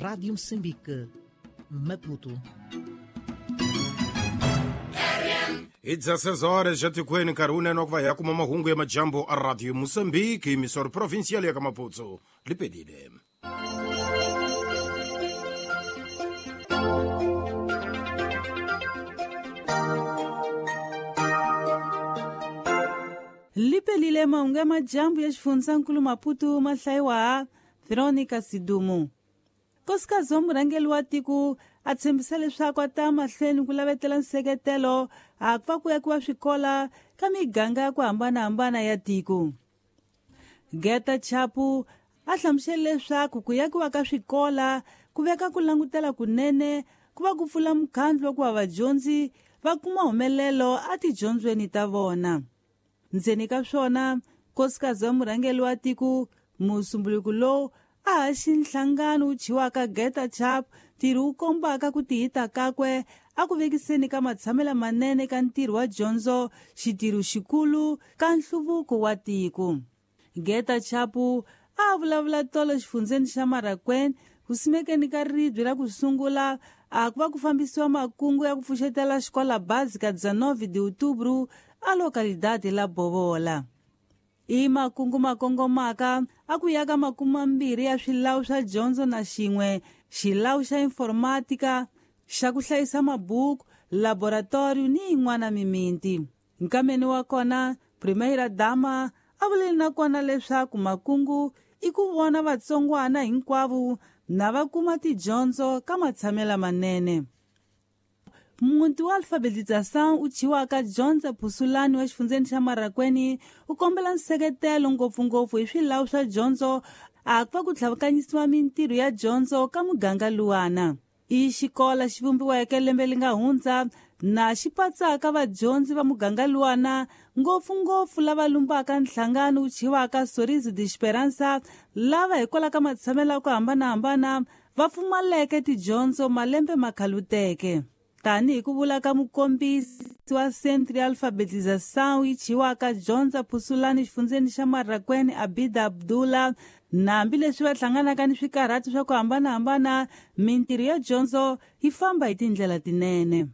Rádio Moçambique, Maputo. Hi 16 horas já tikweni nkarhi wunene wa ku va hi ya kuma mahungu ya majambu a Radio Moçambique, misoro provincial ya ka Maputo lipelile. Lipelile mahungu ya majambu ya xifundzankulu Maputo ma hlayiwa Veronica Sidumo. Nkosikazi wa murhangeri wa tiko a tshembisa leswaku a ta mahlweni ku lavetela nseketelo a ku va ku yakiwa swikola ka miganga ya ku hambanahambana ya tiko. Geta Chapu a hlamusele leswaku ku yakiwa ka swikola ku veka ku langutela kunene ku va ku pfula mukhandlu wa ku va vadyondzi va kuma humelelo etidyondzweni ta vona. Ndzeni ka swona, nkosikazi wa murhangeri wa tiko musumbuluko lowu a haxi nhlangano wu thyiwaka Geta Chap, ntirho wu kombaka ku tihita kakwe a ku vekiseni ka matshamelo manene ka ntirho wa dyondzo, xitirho xikulu ka nhluvuko wa tiko. Geta Chapu a vulavula tolo xifundzeni xa Marakwena ku simekeni ka ribye ra ku sungula a ku va ku fambisiwa makungu ya ku pfuxetela xikola básica 19 de outubro a localidade la Bobola. I makungu ma kongomaka a ku yaka 20 ya swilawu swa dyondzo na xin'we xilawu xa informatika xa ku hlayisa mabuku, laboratorio ni yin'wana mimiti. Nkameni wa kona, Primeira Dama a vuleli na kona leswaku makungu i ku vona vatsongwana hinkwavo na va kuma tidyondzo ka matshamelo manene. Muti wa alfabetização wu thyiwaka Dyondza Phusulani wa xifundzeni xa Marakwena wu kombela nseketelo ngopfungopfu hi swilawu swa dyondzo a ku va ku tlhavukanyisiwa mintirho ya dyondzo ka muganga luwana. I xikola xi vumbiweke lembe li nga hundza na xi patsaka vadyondzi va muganga luwana ngopfungopfu lava lumbaka nhlangano wu thyiwaka Sorriso de Esperança lava hikwalaho ka matshamelo ya ku hambanahambana va pfumaleke tidyondzo malembe ma khaluteke. Tanihi ku vula ka mukombisi wa Centro ya Alfabetização yi thyiwaka Dyondza Phusulani xifundzeni xa Marakwena Abida Abdullah, na hambileswi va hlanganaka ni swikarhati swa ku hambanahambana, mintirho ya dyondzo yi famba hi tindlela tinene.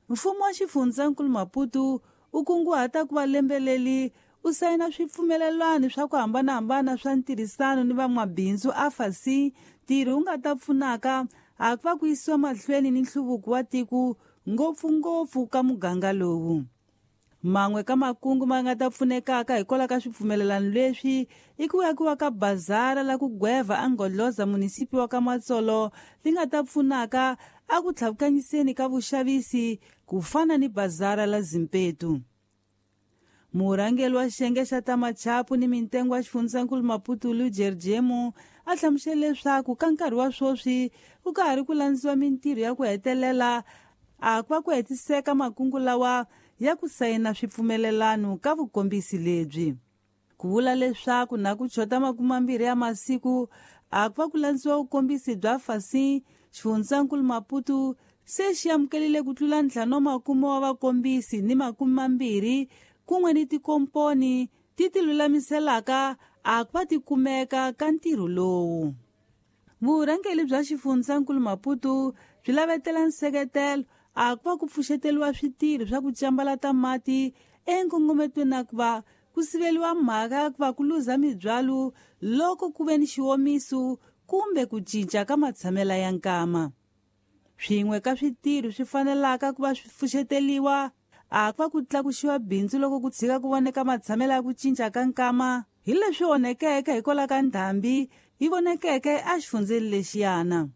Mfumo wa xifundzankulu Maputo wu kunguhata ku va lembe leri u sayina swipfumelelwano swa ku hambanahambana swa ntirhisano ni van'wabindzu AFAC, ntirho wu nga ta pfunaka a ku va ku yisiwa mahlweni ni nhluvuko wa tiko ngopfungopfu ka muganga lowu. Man'we ka makungu ma nga ta pfunekaka hikwalaho ka swipfumelelano leswi i ku yakiwa ka bazara la ku gweva eNgodloza munisipi wa ka Matsolo li nga ta pfunaka a ku tlhavukanyiseni ka vuxavisi ku fana ni bazara la Zimpetu. Murhangeri wa xiyenge xa ta machapu ni mintengo ya xifundzankulu Maputo Lujerjemo a hlamusele leswaku ka nkarhi wa sweswi ku ka ha ri ku landziwa mintirho ya ku hetelela a ku va ku hetiseka makungu lawa ya ku sayina swipfumelelano ka vukombisi lebyi. Ku vula leswaku na ku chota 20 ya masiku a ku va ku landziwa vukombisi bya FASI, xifundzankulu Maputo se xi amukelile ku tlula 50 wa vakombisi ni 20 kun'we ni tikomponi ti ti lulamiselaka a ku va ti kumeka ka ntirho lowu. Vurhangeri bya xifundzankulu Maputo byi lavetela nseketelo a ku va ku pfuxeteliwa switirho swa ku cambalata mati enkongometweni na ku va ku siveliwa mhaka ya ku va ku luza mibyalo loko ku ve ni xiwomiso kumbe ku cinca ka matshamelo ya nkama. Swin'we ka switirho swi fanelaka ku va swi pfuxeteliwa a ku va ku tlakuxiwa bindzu loko ku tshika ku voneka matshamelo ya ku cinca ka nkama hi leswi onhekeke hikwalaho ka ndhambi yi vonekeke exifundzeni lexiyana.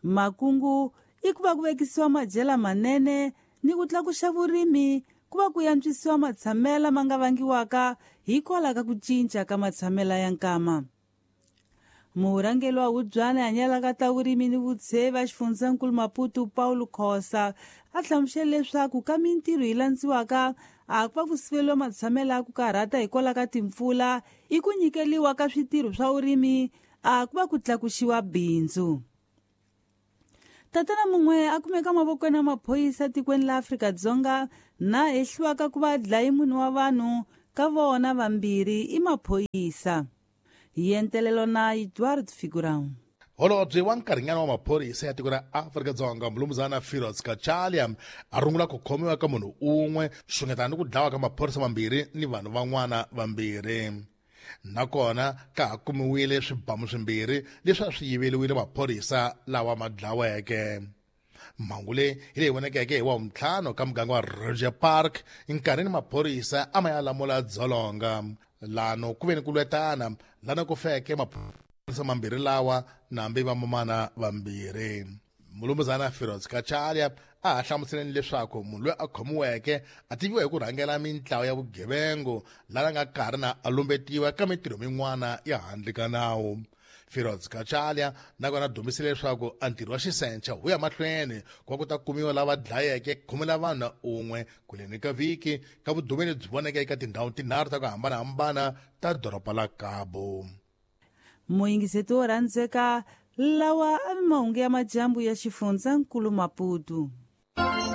Makungu i ku va ku vekisiwa madyela manene ni ku tlakuxa vurimi ku va ku yantswisiwa matshamelo ma nga vangiwaka hikwalaho ka ku cinca ka matshamelo ya nkama. Murhangeri wa Hubyana hanyelaka ta vurimi ni vutsheva xifundzankulu Maputo Paulo Khosa a hlamusele leswaku ka mintirho yi landziwaka a ku va ku siveliwa matshamelo ya ku karhata hikwalaho ka timpfula i ku nyikeliwa ka switirho swa vurimi a ku va ku tlakuxiwa bindzu. Tatana mun'we a kumeka mavokweni ya maphorisa tikweni la Afrika-Dzonga na hehliwaka ku va dlayi munhu wa vanhu ka vona vambirhi i maphorisa. Yentelelo na Eduardo Figurão. Holobye wa nkarhinyana wa maphorisa ya tiko ra Afrika-Dzonga Mulumuzana Firoz Kachalia a rungula ku khomiwa ka munhu un'we xungetana ni ku dlawa ka maphorisa mambirhi ni vanhu van'wana vambirhi. Nakona ka ha kumiwile swibamu swimbirhi leswi a swi yiveriwile maphorisa lawa ma dlaweke. Mhangu leyi hi leyi vonekeke hi Wavuntlhanu ka muganga wa Roger Park nkarhini maphorisa a ma ya lamula dzolonga. Lano ku ve ni ku lwetana lana ku feke maphorisa mambirhi lawa nambi vamamana vambirhi. Mulumuzana Firoz Kachalia a ha hlamuseleni leswaku munhu loyi a khomiweke a tiviwa hi ku rhangela mintlawa ya vugevengu lana nga karhi na a lumbetiwa ka mintirho min'wana ya handle ka nawu. Firoz Kachalia nakona dumisile leswaku a ntirho wa xisencha wu ya mahlweni ku va ku ta kumiwa lava dlayeke khume la vanhu na un'we kuleni ka vhiki ka vudumeli byi voneke eka tindhawu tinharhu ta ku hambanahambana ta doroba la Cabo. Muyingiseti wo rhandzeka, lawa a mahungu ya majambu ya xifundzankulu Maputo.